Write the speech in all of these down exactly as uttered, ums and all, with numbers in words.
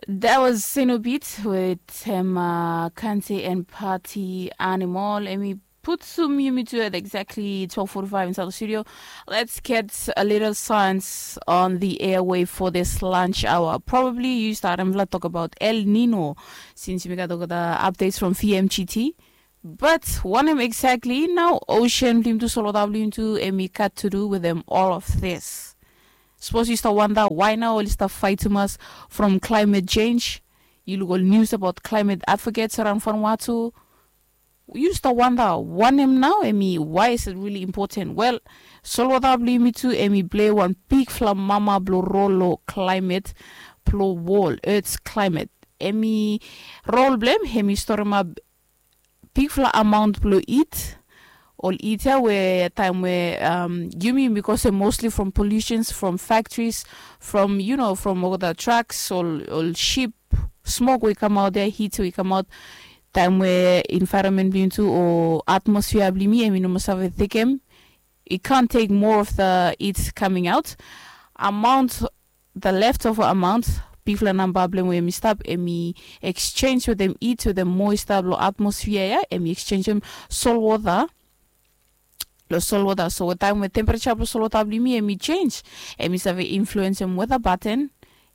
That was Sinobit with him, uh, Kante and Party Animal. Emi putum yumi tu at exactly twelve forty-five inside the studio. Let's get a little science on the airway for this lunch hour. Probably you start and talk about El Nino since we got the updates from V M G T. But wanem exactly nao ocean blo yumi tu, solwota blo yumi tu, emi gat to do with them all of this? Sapos yu stap wanda why nao oli stap fait tumas from climate change. Yu luk ol news about climate advocates around Vanuatu. Yu stap wanda wanem nao emi, why is it really important? Well, solwota blo yumi tu emi plei wan bigfala mama blo rol lo climate blo wol, Earth's climate. Emi rol blo hem emi storemap bigfala amount blo it. Ol it ya we taem we, um, yumi yumi kosem mostly from pollutions from factories, from, you know, from olgeta trucks, ol ol ship, smok we i kamaot ya, heat we i kamaot. Taem we environment blo yumi tu o atmosphere blo yumi emi no moa save tekem, it can't take more of the heat coming out. Amount, the leftover amount, bigfala namba blo hem we emi stap, emi exchange wetem it wetem moisture blo atmosphere ya, emi exchange hem solwota lo solwota. So taem we temperature blo solwota blo yumi emi change, emi save influence hem weather pattern,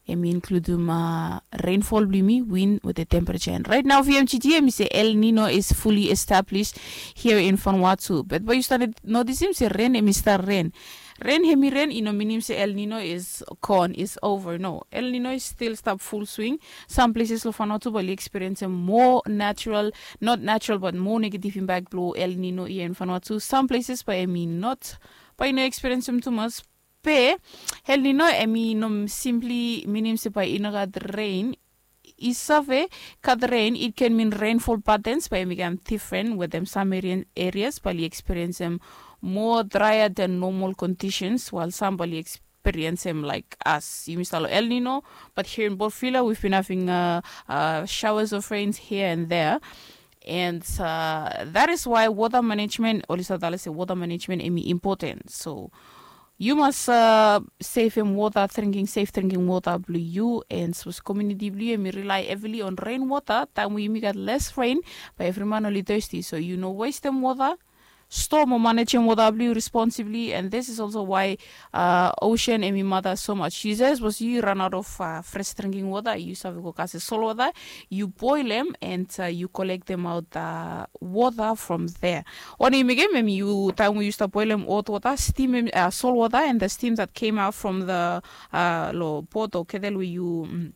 emi include hem, uh, rainfall blo yumi, wind wetem temperature. And right now V M G T emi se El Nino is fully established here in Vanuatu. But bae yu stap notisim se ren emi stap ren. Ren emi ren i no minim se El Nino is gone, is over. No, El Nino is still stap full swing. Some places lo Vanuatu bae oli experience hem moa natural, not natural, but moa negative impact blo El Nino ia in Vanuatu. Some places bae emi not, bae i no experience hem tumas. Be El Nino emi no simply minim se bae i no gat ren. I save gat ren, it can mean rainfall patterns bae emi kam different wetem some areas bae oli experience hem moa drier than normal conditions, while some bae oli experience hem like us. Yumi stap lo El Nino, but here in Port Vila we've been having, uh, uh, showers of rains here and there. And, uh, that is why water management, oli stap talem se water management emi important. So yu mas, uh, sevem wota, drinking, safe drinking wota blo yu, and sapos community blo yu emi rely heavily on rainwater, taem we yumi gat less rain, bae evri man oli thirsty. So yu no wastem wota, store mo manejem wota blo yu responsibly. And this is also why, uh, ocean emi mata so much. Yu save, sapos yu run out of, uh, fresh drinking water, yu save go kasem solwota, yu boil hem, and, uh, yu collect them out, uh, water from there. Wanem yu mekem hem, yu, taem we yu stap boilem hot water, steam hem, uh, solwota, and the steam that came out from the, uh, lo pot o kettle we yu, mm,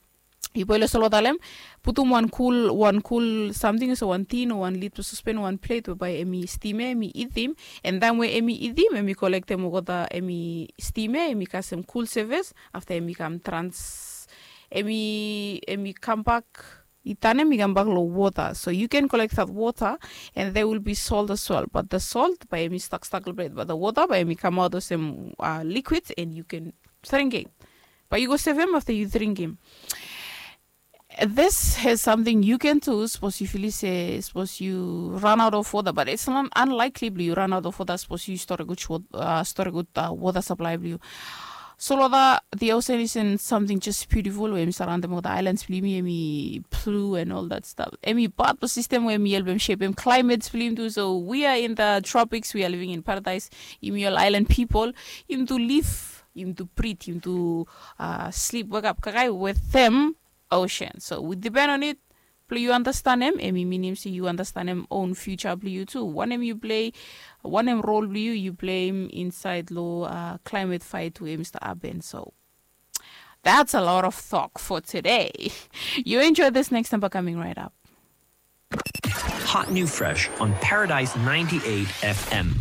yu boilem solwota lo hem, putum wan kul, wan kul samting, so wan tin o wan lid blo sospen, wan plate we bae emi steam ya, emi itim. And taem we emi itim, emi kolektem olgeta, emi steam ya, emi kasem kul sevis. Afta emi kam trans, emi, emi kambak, i tanem i kambak lo wota. So you can collect that water and there will be salt as well, but the salt bae emi stak stak lo plet, but the water bae emi kamaot olsem, uh, liquid and you can drinking. Bae yu go sevem afta yu drinking. This has something you can do, sapos yu filim se, sapos yu run out of water, but it's not unlikely blong yu run out of water sapos yu storegud, uh, storegud, uh, water supply blong yu. Solwota, the ocean isn't something just beautiful we emi saraondem olgeta islands blong yumi, emi blue and all that stuff. Emi part blong system we emi helpem shapem climate blong yumi tu. So we are in the tropics, we are living in paradise. Yumi ol island people, yumi tu live, yumi tu breathe, yumi tu, uh, sleep, wake up, kaikai wetem ocean. So we depend on it. Blong yu understanem, emi minim se yu understanem own future blong yu tu. Wanem yu plei, wanem role blong yu yu pleim insaed lo, uh, climate fight we emi stap hapen. So that's a lot of talk for today. You enjoy this next number coming right up. Hot new fresh on Paradise ninety-eight F M.